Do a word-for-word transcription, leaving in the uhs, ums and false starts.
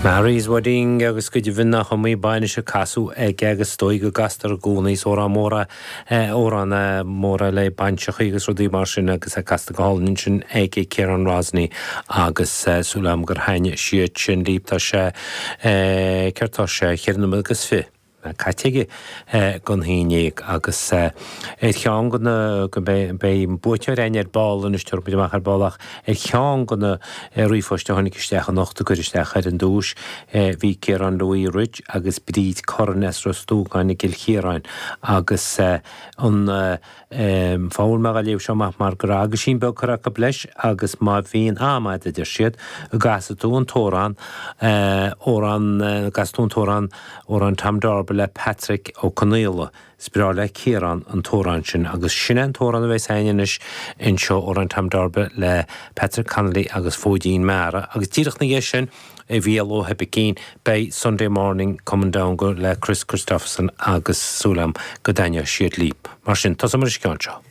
Mary's Wedding agus go deimhin nach iomaí bainis a casadh aige agus is dóigh go gcastar i gcónaí is amhrán mór é amhrán mór le bainseachaí agus rudaí mar sin agus é casta go hálainn ansin ag Ciarán Rosney agus súil agam gur thaitnigh siad sin libh tá sé céard tá sé cheithre nóiméad agus fiche caite aige don haon déag agus ar cheann de na go mbeidh buaiteoir againn ar ball anois tabharfaidh muid amach ar ball ach ar cheann de na ríomhphoist a tháinig isteach anocht a cuir isteach ar an duais bhí Ciarán Louis Ridge agus Bríd Curran as Ros Dúgáin i gCill Chiaráin agus an fáth mé á léamh seo amach mar go raibh aguisín beag curtha acu leis agus má bhíonn am agat a deir siad go gcasfaidh tú an t-amhrán amhrán go gcasfaidh tú an t-amhrán amhrán Tom Darby le Patrick Ó Conaola. Is breá le Ciarán an t-amhrán sin agus sin é an t-amhrán a bheas againn anois anseo amhrán Tom Darby le Patrick Connolly agus Fóidín Meara agus díreach ina dhiaidh sin a Mhícheál Ó hOibicín beidh Sunday Morning Coming Down go le Kris Kristofferson agus súil agam go dtaitneoidh siad libh. Mar sin tosóidh muid leis an gceann seo.